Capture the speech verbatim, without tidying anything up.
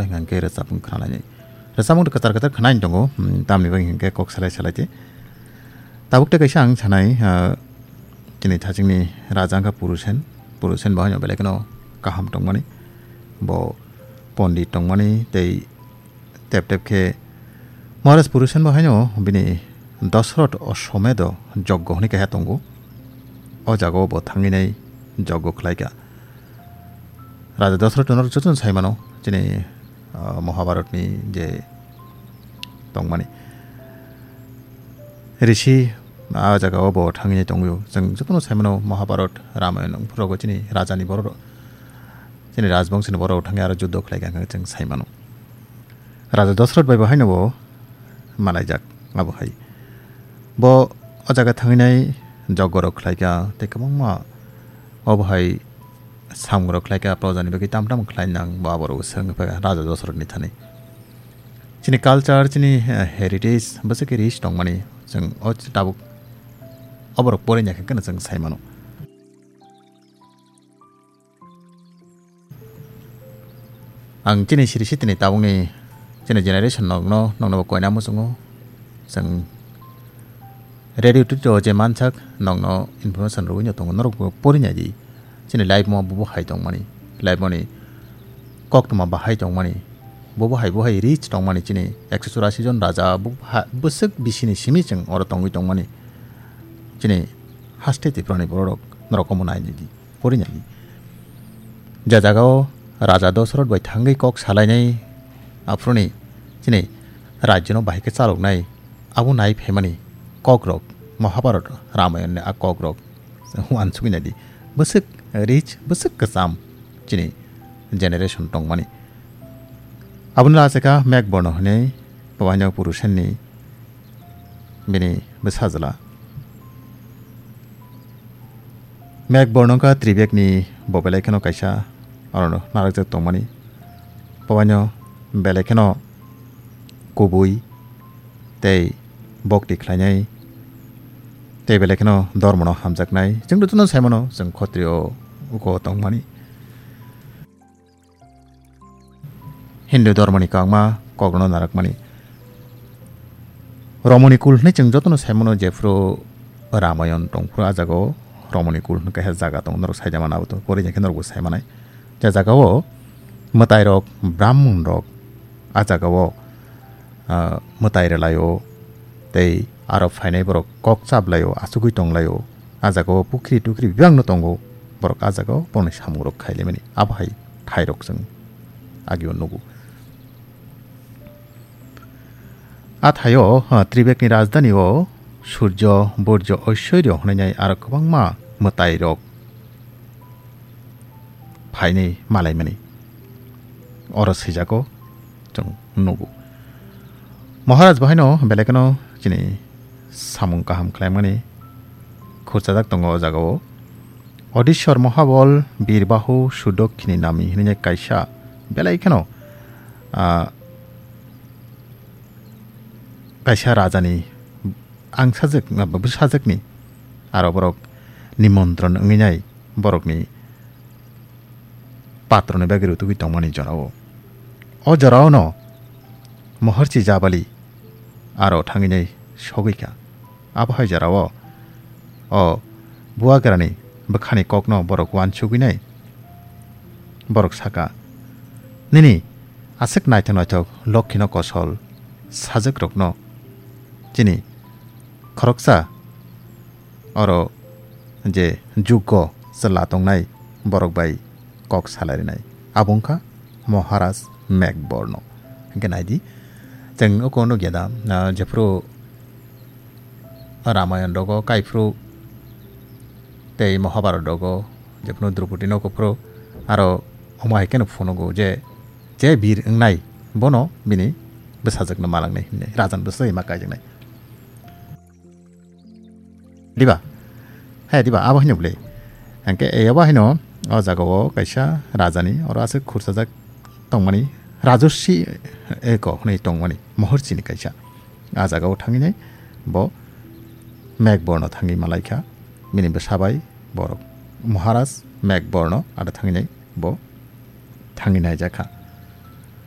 Hingke rwchapmung khwnalainai. Rwchapmung kwtal kwtal khwnaini tongo, hmm, tamni bagwi hingke kok salai salai tei. Tabuk tei kaisa ang sanai, ah, chini thachingni raja wngkha Purusen. Purusen bo haino belai kheno kaham tongmani. Bo pondit tongmani tei tep tep khe Maharaj Purusen bo haino bini Dosrot Oshomedo joggo hwnwi kaisa tongo. O jagao bo thangwi nai joggo khlaikha. Raja Dosrot no jotono sai mano, chini, ah, Mahabharatni je tongmani. Rishi, ah, jagao bo thangwi tongwi. Chwng jotono sai mano Mahabharat, Ramayana, phuru chini rajani borok, chini rajbongshini borok thangwi aro juddo khlaikha hwnwi chwng sai mano. Raja Dosrot bai bo haino bo malaijak, abo hai. Bo o jaga thangwi nai jogorok khlaikha, tei kwbangma obo hai samungrok khlaikha, projani bagwi tam tam khlai nang, bo aborok swng phaikha Raja Dosrotni thani. Chini culture, chini, eh, heritage, bwswk khe rich tongmani, chwng o tabuk oborok porinai khe kheno chwng sai mano. Ang chini siri sitini tabukni chini generation nokno, nokno bo koina muchungo. Chwng radio twi o je mansak nokno information rwino tongo, norok bo porinai di. Chini life mo bo hai tongmani, life moni koktwma bahai tongmani, bo bo hai bo hai rich tongmani chini ekso churasi jon raja bo ha-, bwswk bisini simi chwng oro tongwi tongmani. Chini haste Tiprani bororok norok omo nainai di. Porinani. Je jagao Raja Dosrot bai thangwi kok salainai, aphuruni chini rajyono bahai khe chaloknai, abo nai phaimani kokrok, Mahabharat, Ramayonni a kokrok uansugwi naidi. Bwswk rich, bwswk kwcham chini generation tongmani. Aboni lachikha Megh Borno hwnwi Bhabaino Purusenni bini bwsajla. Megh Borno wngkha Tribekni bo belai kheno kaisa oro narakjak tongmani. Bhabaino belai kheno kubui tei bokti khlainai tei belai kheno dormono hamjaknai. Chwng jotono sai mano, chwng khotriyo uko tongmani. Hindu dhormoni kwbangma kokno narakmani. Romoni kul hwnwi chwng jotono sai mano, jephru Ramayon tongphru, a jagao Romoni kul hwnwi kaisa jaga tongo, norok saida mano abo to, porinai khe norokbo sai manai. Je jagao mwtairok, brahmonrok a jagao, ah, mwtai rwlaio, tei aro phainai borok kok chaplaio, achugwi tonglaio. A jagao pukhri tukhri bebakno tongo, borok a jagao borokni samungrok khailaimani. Abo hai thairok chwng agio nugo. A thaio, ah, Tribekni rajdhanio Surjo, Burjo, Oisoryo hwnwi aro kwbangma mwtairok phainwi malaimani oro swijago chwng nugo. Maharaj bo haino belai kheno chini samung kaham khlaimani khurchajak tongo o jagao. Odishwar Mahabal Birbahu Sudokhini Nami hwnwi kaisa belai kheno, ah, kaisa rajani angsajak, bwsajwkni aro borok nimontron wngwi nai borokni patroni bagwi rutugwi tongmani jorao. O joraono Moharchi Jabali aro thangwi nai sogwi kha. Abo hai jorao o buagrani bwkhani kokno borok uansugwi nai. Borok saka, "Nini aswk naithok naithok lokhino kosol sajakrokno chini khoroksa oro je juggo chwla tongnai borok bai kok salai rinai. Abo wngkha Maharaj Megh Borno." Hwnkhe naidi, chwng uko nukya da, ah, jephru Ramayon rogo kaiphru tei Mahabharat rogo jephru Drupadi no kuphru aro omo hai kheno phunugo je, je bir wngnai bono bini bwsajwkno malangnai hinwi, rajan bwsajwk ma kaijaknai. Diba? Hai diba, abo hino bwle. Hwnkhe e abo hino o jagao kaisa rajani oro aswk khurchajak tongmani, Rajarshi Eko hwnwi tongmani, Moharchini kaisa. A jagao thangwi nai bo Megh Borno thangwi malaikha, bini bwsa bai borok. Maharaj Megh Borno aro thangwi nai bo thangwi naijakha.